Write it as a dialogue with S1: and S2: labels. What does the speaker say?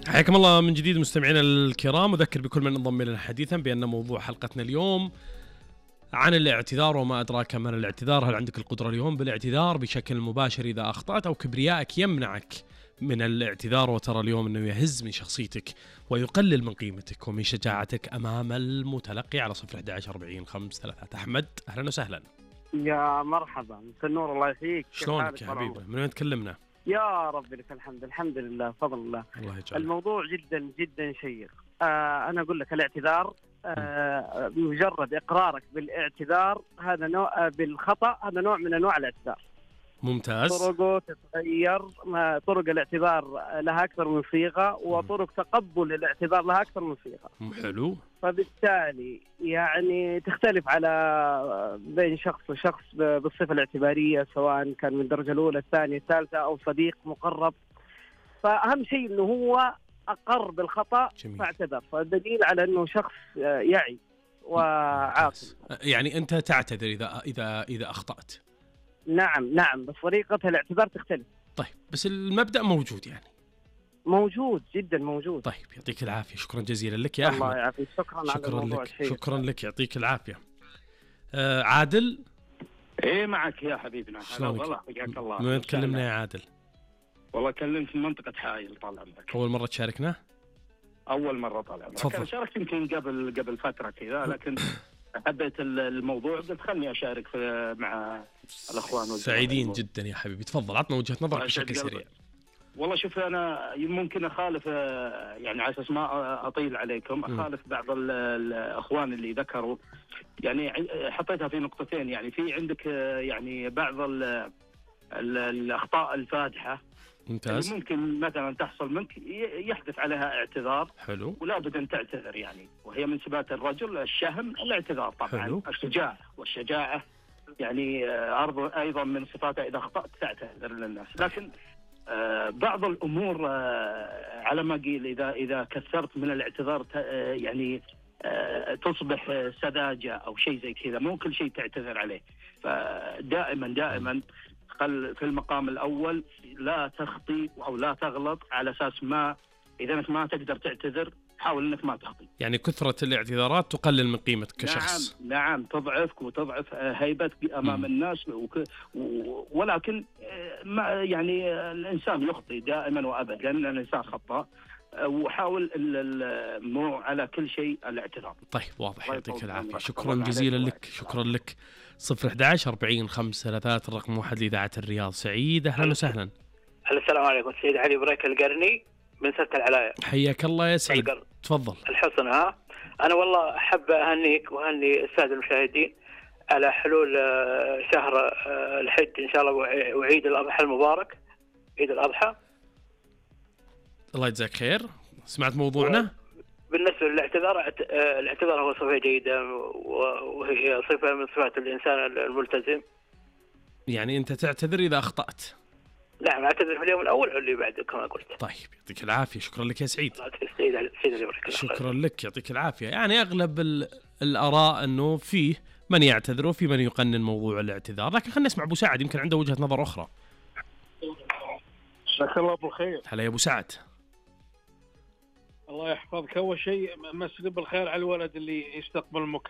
S1: حياكم الله من جديد مستمعينا الكرام. أذكر بكل من انضم لنا حديثا بأن موضوع حلقتنا اليوم عن الاعتذار وما أدراك ما الاعتذار. هل عندك القدرة اليوم بالاعتذار بشكل مباشر إذا أخطأت، أو كبريائك يمنعك من الاعتذار وترى اليوم أنه يهز من شخصيتك ويقلل من قيمتك ومن شجاعتك أمام المتلقي على 011-40-5-3. أحمد أهلا وسهلا.
S2: يا مرحبا، مساء النور، الله يحييك.
S1: شلونك يا حبيبي؟ من وين تكلمنا؟
S2: يا رب لك الحمد، الحمد لله، فضل الله.
S1: الله يجعلك.
S2: الموضوع جدا جدا شيق. أنا أقول لك الاعتذار مجرد إقرارك بالاعتذار هذا نوع بالخطأ، هذا نوع من أنواع الاعتذار.
S1: ممتاز.
S2: طرقه تتغير، طرق الاعتذار لها أكثر من صيغة، وطرق تقبل الاعتذار لها أكثر من صيغة.
S1: حلو.
S2: فبالتالي يعني تختلف على بين شخص وشخص بالصفة الاعتبارية، سواء كان من الدرجة الأولى الثانية الثالثة أو صديق مقرب. فأهم شيء إنه هو أقر بالخطأ فاعتذر، فالدليل على إنه شخص يعي وعاقل.
S1: يعني أنت تعتذر إذا أخطأت؟
S2: نعم، بس طريقة الاعتذار تختلف.
S1: طيب، بس المبدأ موجود يعني؟
S2: موجود، جدا موجود.
S1: طيب، يعطيك العافية، شكرا جزيلا لك يا أحمد.
S2: الله يعافيك،
S1: شكرا لك، يعطيك العافية. عادل.
S3: ايه معك يا حبيبنا.
S1: والله حياك الله. من تكلمنا يا عادل؟
S3: والله كلمت من منطقة حائل. طال عمرك.
S1: أول مرة تشاركنا؟
S3: أول مرة. طال عمرك. أنا شاركت يمكن قبل فترة كذا، لكن حبيت الموضوع قلت خلني أشارك مع الأخوان.
S1: سعيدين جدا يا حبيبي، تفضل عطنا وجهة نظرك بشكل سريع.
S3: والله شوف، أنا ممكن أخالف يعني على أساس ما أطيل عليكم، أخالف بعض الأخوان اللي ذكروا، يعني حطيتها في نقطتين. يعني في عندك يعني بعض الأخطاء الفادحة.
S1: ممتاز.
S3: ممكن مثلا تحصل منك يحدث عليها اعتذار.
S1: حلو.
S3: ولا بد أن تعتذر يعني، وهي من صفات الرجل الشهم الاعتذار طبعا.
S1: حلو.
S3: الشجاعة والشجاعة يعني أيضا من صفاتها إذا أخطأت تعتذر للناس. لكن بعض الأمور على ما قيل إذا كثرت من الاعتذار يعني تصبح سذاجة أو شيء زي كذا، مو كل شيء تعتذر عليه. فدائما خل في المقام الأول لا تخطي أو لا تغلط، على أساس ما إذا أنك ما تقدر تعتذر حاول أنك ما تخطي.
S1: يعني كثرة الاعتذارات تقلل من قيمتك كشخص.
S3: نعم تضعفك وتضعف هيبتك أمام الناس. ولكن يعني الإنسان يخطي دائما وأبدا، الإنسان خطأ، وحاول مو على كل شيء الاعتذار.
S1: طيب واضح، يعطيك العافية، شكرا جزيلا لك. شكرا لك. 011-40-5-3 الرقم 1 لإذاعة الرياض. سعيد أهلا وسهلا.
S4: السلام عليكم، سيد علي بريك القرني من سلة العلاية.
S1: حياك الله يا سعيد، تفضل.
S4: الحسن. أنا والله أحب أهنيك وأهني السادة المشاهدين على حلول شهر الحج إن شاء الله، وعيد الأضحى المبارك، عيد الأضحى.
S1: الله يجزاك خير. سمعت موضوعنا؟
S4: بالنسبة للاعتذار، الاعتذار هو صفة جيدة، وهي صفة من صفات الإنسان الملتزم.
S1: يعني أنت تعتذر إذا أخطأت؟
S4: نعم، أعتذر في اليوم الأول واللي بعده كما قلت.
S1: طيب يعطيك العافية، شكرا لك يا سعيد.
S4: شكرا
S1: لك، يعطيك العافية. يعني أغلب الآراء أنه فيه من يعتذر وفي من يقنن موضوع الاعتذار، لكن خلينا نسمع أبو سعد، يمكن عنده وجهة نظر أخرى.
S5: جزاك الله بالخير.
S1: هلا يا أبو سعد.
S5: الله يحفظك. أول شيء مسي بالخير على الولد اللي يستقبل